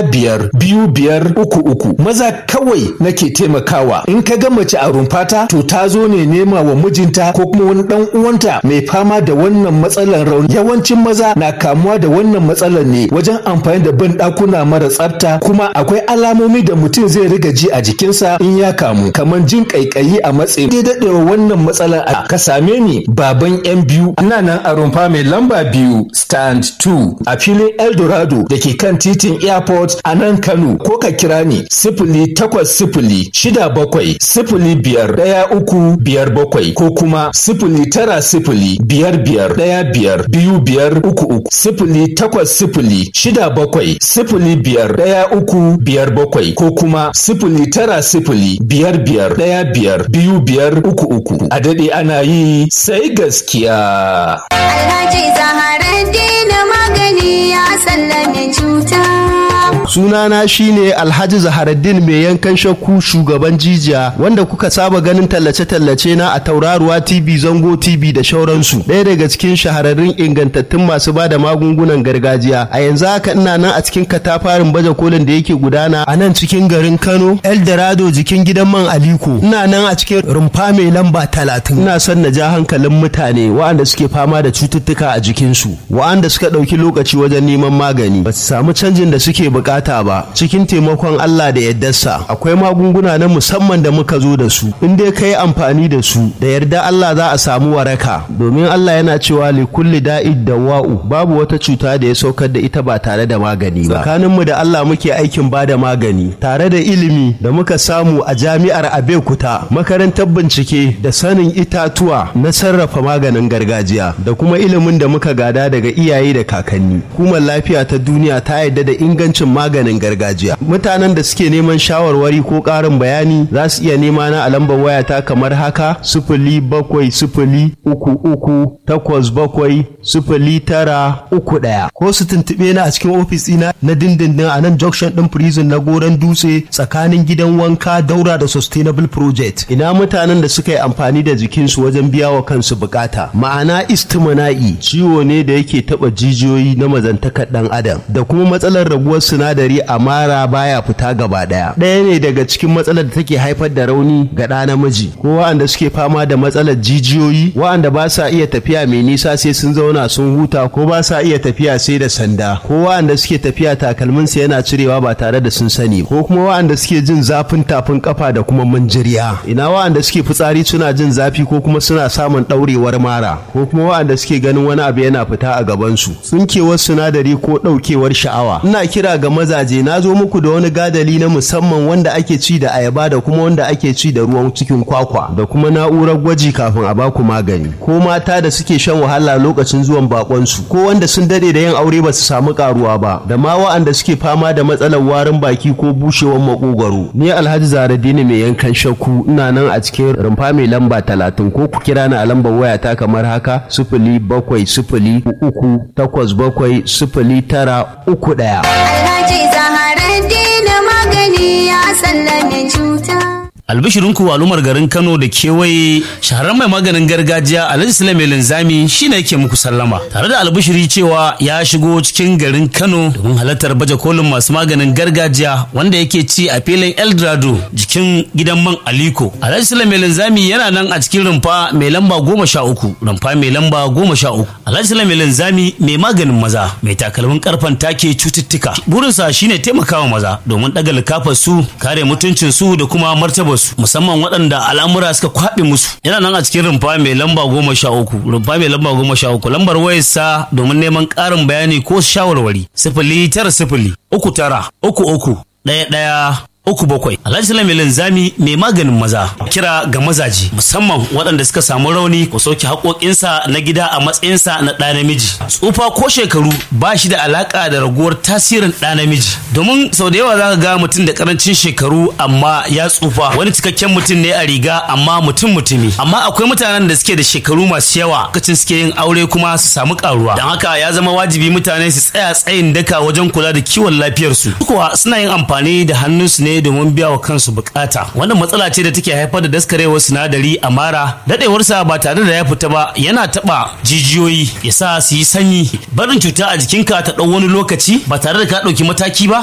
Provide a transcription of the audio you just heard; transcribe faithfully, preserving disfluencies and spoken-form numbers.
Biyar biyu biyar uku uku. Maza kawai nake taimakawa. In ka ga mace a rumfata, to ta zo ne nema wa mijinta ko kuma wani dan uwanta mai fama da wannan matsalar rauni. Yawancin maza na kamuwa da wannan matsalar ne wajen amfani da ban ɗakuna mara tsafta, kuma akwai alamomi da mutum zai riga ji a jikinsa in ya kamu, kamar jin kaikayi a matsayi. Dai daɗewa wannan matsalar a ka same ni, baban yan biyu, ina nan a rumfa mai lamba biyu, stand two, a filin Eldorado da ke kan titin Airport a nan Kano, ko ka kira ni sifili takwas sifili shida bakwai sifili biyar ɗaya uku biyar bakwai, ko kuma sifili tara sifili biyar biyar ɗaya biyar biyu biyar uku uku, sifili takwas sifili shida bakwai sifili biyar ɗaya uku biyar bakwai, ko kuma sifili tara sifili biyar biyar ɗaya biyar biyu biyar uku uku. A daɗe ana yi, sai gaskiya. Alhaji Zaharaddin magani ya sallame cuta. Sunana shine Alhaji Zaharaddin mai yankan shakku, shugaban jijiya, wanda kuka saba ganin tallace-tallace na a Tauraruwa T V, Zango T V da shauransu. Ɗaya daga cikin shahararrun ingantattun masu bada magungunan gargajiya. A yanzu haka ina nan a cikin katafarin baje kolin da yake gudana a nan cikin garin Kano, Eldorado, jikin gidan man Aliko. Ina nan a cikin rumfa mai lamba talatin. Ina son na ja hankalin mutane waɗanda suke fama da cututtuka a jikinsu, waɗanda suka ɗauki lokaci wajen neman magani ba su samu canjin da suke bukata ba. Cikin taimakon Allah da yardarsa, akwai magunguna na musamman da muka zo da su. In dai ka yi amfani da su, da yarda Allah za a samu waraka, domin Allah yana cewa li kulli da'id dawa'u, babu wata cuta da ya saukar da ita ba tare da magani ba. Tsakaninmu da Allah muke aikin ba da magani tare da ilimi da muka samu a jami'ar Abeokuta, makarantar bincike da sanin itatuwa na sarrafa maganin gargajiya, da kuma ilimin da muka gada daga iyaye da kakanni. Hukumar lafiya ta duniya ta yarda da ingancin maganin gargajiya. Mutanen da suke neman shawarwari ko ƙarin bayani za su iya nema na a lambar wayata kamar haka: sifili bakwai sifili uku uku takwas bakwai sifili tara uku ɗaya, ko su tuntuɓe ni a cikin ofis ɗina na dindindin a nan junction ɗin prison na Goron Dutse, tsakanin gidan wanka, daura da Sustainable Project. Ina mutanen da suka yi amfani da jikinsu wajen biya wa kansu bukata, ma'ana istimana'i, ciwo ne da yake taɓa jijiyoyi na mazantakar ɗan adam, da kuma matsalar raguwar sinadari a mara baya fita gaba ɗaya, ɗaya ne daga cikin matsalar da take haifar da rauni ga ɗa namiji, ko wa'anda suke fama da matsalar jijiyoyi, wa'anda ba sa iya tafiya mai nisa sai sun zauna sun huta, ko ba sa iya tafiya sai da sanda, ko wa'anda suke tafiya takalminsu yana cirewa ba tare da sun sani, ko kuma wa'anda suke jin zafin tafin kafa da kuma manjiriya. Ina wa'anda suke fitsari suna jin zafi, ko kuma suna samun ɗaurewar mara, ko kuma wa'anda suke ganin wani abu yana fita a gabansu, tsinkewar sinadari ko ɗaukewar sha'awa. Ina kira ga mazaje, na zo muku da wani gadali na musamman wanda ake ci da ayaba da kuma wanda ake ci da ruwan cikin kwakwa, da kuma na'urar gwaji kafin a baku magani. Ko mata da suke shan wahala lokacin zuwan bakonsu, ko wanda sun dade da yin aure ba su samu karuwa ba, da ma wa'anda suke fama da matsalar warin baki ko bushewar makogwaro. Ni Alhaji Zaradini mai yankan shakku, ina nan a cikin rumfa mai lamba talatin, ko ku kira ni a lambar wayata kamar haka: sifili bakwai sifili uku takwas bakwai sifili tara uku ɗaya. Alhaji Zaharaddin magani ya sallame cuta. Albishirinku al'ummar garin Kano da kewaye, shahararren mai maganin gargajiya Alhaji Sule Mai Linzami shine yake muku sallama tare da albishiri cewa ya shigo cikin garin Kano domin halartar baje kolin masu maganin gargajiya wanda yake ci a filin Eldorado, jikin gidan man Aliko. Alhaji Sule Mai Linzami yana nan a cikin rumfa mai lamba goma sha uku, rumfa mai lamba goma sha uku. Alhaji Sule Mai Linzami mai maganin maza mai takalmin karfan take cututtuka, burinsa shine taimakawa maza domin ɗaga likafar su, kare mutuncin su da kuma martabar su, musamman waɗanda al'amura suka kwaɓe musu. Yana nan a cikin rumfa mai lamba goma sha uku, rumfa mai lamba goma sha uku. Lambar wayarsa domin neman ƙarin bayani ko shawarwari: sifili tara sifili uku tara uku uku ɗaya ɗaya uku bakwai. Alhaji Sule Linzami mai maganin maza. Kira ga mazaje, musamman waɗanda suka samu rauni, ko sauke haƙoƙinsa na gida a matsayinsa na ɗa namiji. Tsufa ko shekaru ba shi da alaƙa da raguwar tasirin ɗa namiji. Domin sau da yawa za ka ga mutum da ƙarancin shekaru amma ya tsufa. Wani cikakken mutum ne a riga amma mutum mutumi. Amma akwai mutanen da suke da shekaru masu yawa lokacin suke yin aure kuma su samu ƙaruwa. Don haka ya zama wajibi mutane su tsaya tsayin daka wajen kula da kiwon lafiyarsu. Kuwa suna yin amfani da hannunsu ne domin biya wa kansu bukata. Wannan matsala ce da take haifar da daskarewar sinadari a mara. Dadewarsa ba tare da ya fita ba yana taba jijiyoyi, ya sa su yi sanyi. Barin cuta a jikinka ta ɗau wani lokaci ba tare da ka ɗauki mataki ba.